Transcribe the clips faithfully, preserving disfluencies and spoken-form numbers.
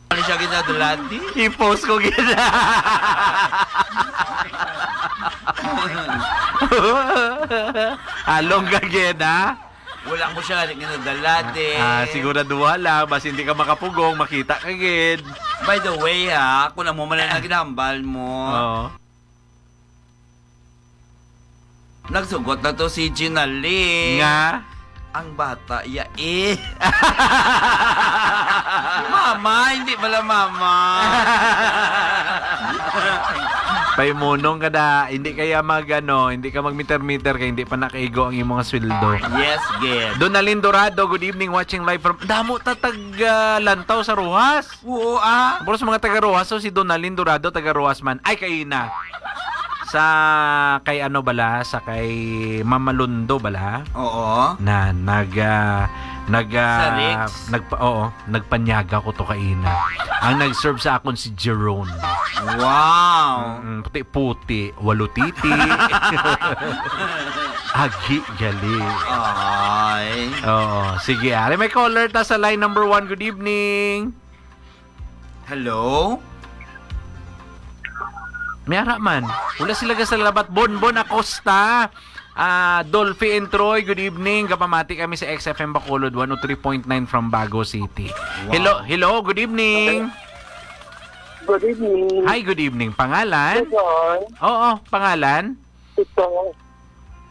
Ano siya ginadulati? I-post ko gid. Along ka gid, ha? Wala ko siya ginadulati. Ah, siguraduha lang, basi hindi ka makapugong, makita ka gid. By the way, ha, kung amo man ang naginhambal mo, Oo. Nagsugot na to si Ginalie. Nga? Ang bata, ya eh. Mama, hindi pala mama. Paimunong ka da, hindi kaya mag, ano, hindi ka mag-meter-meter kay hindi pa nakaigo ang imong sweldo. Yes, gid. Donalyn Dorado, good evening, watching live from, damo ta tag, ah, Lantaw sa Roxas. Oo, ah. Pero sa mga taga Roxas, so si Donalyn Dorado, taga Roxas man. Ay, kayo na. Sa kay ano bala, sa kay Mama Londo bala? Oo. Na nag, ah, nag, ah, Sa Rix? nagpa-, oo, nagpanyaga ko to kaina. Ang nag-serve sa akon si Jerome. Wow. Mm, puti-puti, walo titi. Agi gali. Ay. Oo, sige. Ari may caller ta sa line number one. Good evening. Hello? May ara man. Wala sila ga sa labat. Bonbon Acosta. Ah, Dolphy and Troy, good evening. Gapamati kami sa X F M Bacolod, one oh three point nine from Bago City. Wow. Hello, hello, good evening. Good evening. Hi, good evening. Pangalan? Good morning. Oo, pangalan? Ito.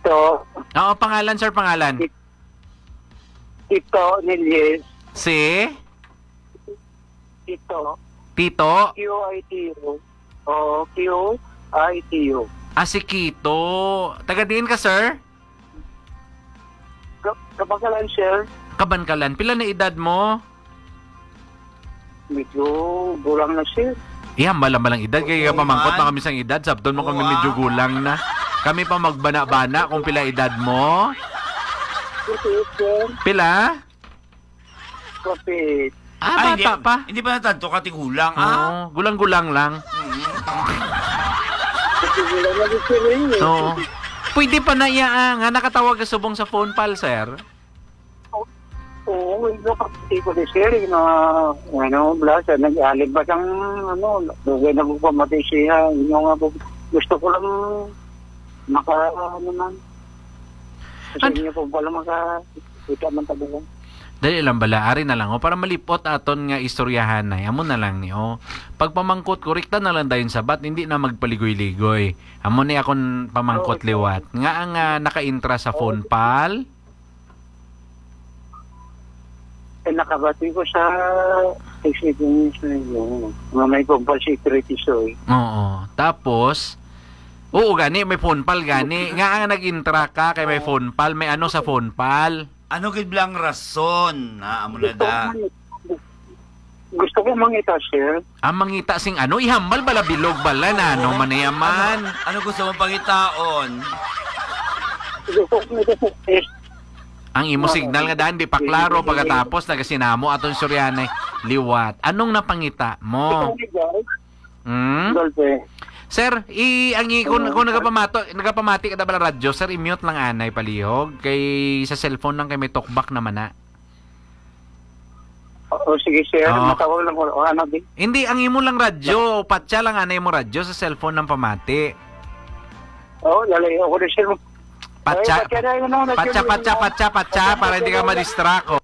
Ito. Oo, pangalan, sir, pangalan. It-, ito, Niljes. Si? Tito. Tito? Q I T O. Oo, Q I T O. Ah, si Kito. Taga diin ka, sir? Ka-, Kabankalan, sir. Kabankalan. Pila na edad mo? Medyo gulang na, sir. Iya, malang-malang edad. Kaya Oo, pamangkot man. na kami sang edad. Sabton mo kami Wow. medyo gulang na. Kami pa magbana-bana kung pila edad mo. Forty-eight, sir. Pila? Kapit. Ah, Ay, bata hindi, pa. hindi pa natanto ka tigulang, ah. Oo, gulang-gulang lang. Mm. Tigulang na gusto rin eh. Oo. Pwede pa na iya, ah, nga nakatawag ka subong sa phone pal, sir? Oo, hindi ko kapit ko ni sir, yung mga, ano, bla, sa nag-alig ba siyang, ano, dugay na ko pamati siya, yung nga po, gusto ko lang maka, ano man. Sa An- inyo po pala maka, kita man talaga. Dali lang bala, ari na lang, oh, para malipot aton nga istoryahanay. Amo na lang ni, oh. Pagpamangkot, korekta na lang dayon sabat, hindi na magpaligoy-ligoy. Amo ni akon pamangkot Oo, sir. liwat. Nga ang, ah, nakaintra sa Oo, phone sir. pal? Eh, nakabati ko sa experience na yun. Nga may compulsory treatise, eh. Oo. Tapos, oo, gani, may phone pal, gani. Nga ang nag-intra ka kay may Oo. phone pal, may ano sa phone pal? Ano gid lang rason? Ha, amo na Gusto ko da. man, gusto ko mangita, sir. Ah, mangita sing ano? Ihambal bala bilog bala na, ano Oo. man niya man? Ano gusto mong pangitaon? Gusto ko mangita, sir. Ang imo Oo. signal nga daan, di pa Sige, klaro. sige. Pagkatapos, nagasinamo aton Suryane. Liwat. Anong napangita mo? Ikaw, Miguel? Hmm? Golpe. Sir, i-, ang i-, kung, Oo. kung nagapamato-, nagapamati ka da bala radyo, sir, i-mute lang anay palihog. Kay sa cellphone lang kay may talkback naman na. O, sige, sir. Oo. Matawag lang ko. O, ano, di? Hindi, ang imo lang radyo. Patsa lang anay mo radyo sa cellphone ng pamati. Oo, lalayo ako na, sir. Patsa, Ay, patsa na yun, ano, patsa, nag-, patsa, patsa, patsa, patsa, para hindi ka patsa na yun. ma-distract, oh.